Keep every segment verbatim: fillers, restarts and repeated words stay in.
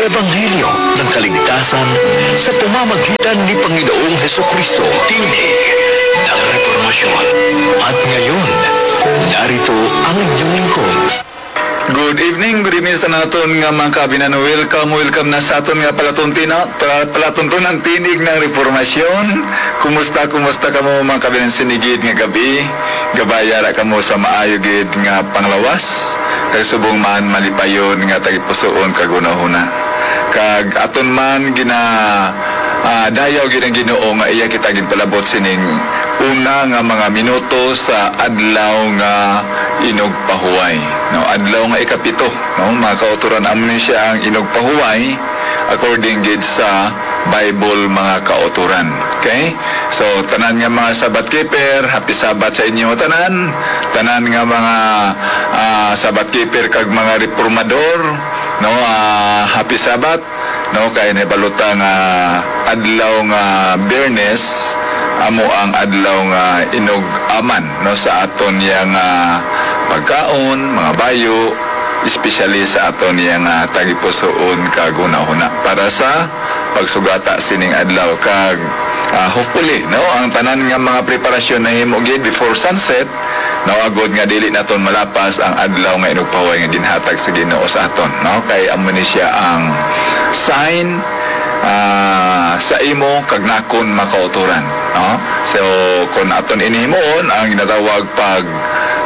Ebanghelyo ng kaligtasan sa pamamagitan ni Panginoong Hesukristo. Tinig ng Reformasyon. At ngayon, narito ang inyong lingkod. Good evening, good evening sa naton nga mga kabinan. Welcome, welcome na sa aton nga palatuntina, pa-, palatuntunan tinig ng reformasyon. Kumusta, kumusta kamo mga kabinan sinigid nga gabi? Gabaya ra kamo sa maayo gid nga panglawas, kag subong man malipayon nga tagipusoon kag hunahuna. Kag aton man gina, ah, dayaw gid ang Ginoo nga iya kita ginpalabot sining una nga mga minuto sa adlaw nga inugpahuway, no? Adlaw nga ikapito, no? Mga kautoran, amo ni siya ang inugpahuway according gid sa Bible, mga kautoran. Okay? So, tanan nga mga Sabbath keeper, happy Sabbath sa inyo tanan. Tanan nga mga, ah, Sabbath keeper kag mga reformador, no? Ah, happy Sabbath, no? Kay nahibaluta nga adlaw nga Biyernes amo ang adlaw nga inug-aman, no, sa aton yang, ah, pagkaon, mga bayo, especially sa aton yang, ah, tagipusoon kag hunahuna para sa pagsugata sining adlaw. Kag, ah, hopefully, no, ang tanan nga mga preparasyon nahimo gid before sunset, no, agod nga dili naton malapas ang adlaw nga inugpahuway nga ginhatag sa Ginoo sa aton, no, kay amo ni siya ang sign, ah, sa imo kag nakon, mga kautoran, no. So, kung aton ini himuon ang ginatawag pag,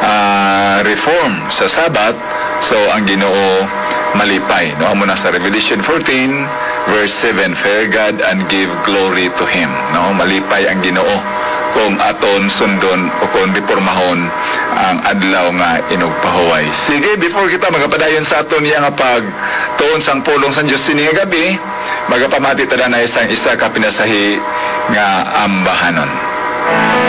ah, reform sa Sabbath, so ang Ginoo malipay, no? Amo na sa Revelation fourteen, verse seven, "Fear God and give glory to Him." No? Malipay ang Ginoo kung aton sundon o kung reformahon ang adlaw nga inugpahuway. Sige, before kita magapadayon sa aton iya nga pagtuon sang pulong sang Dios sini nga gabi, magapamati ta na isang isa ka pinasahi nga ambahanon.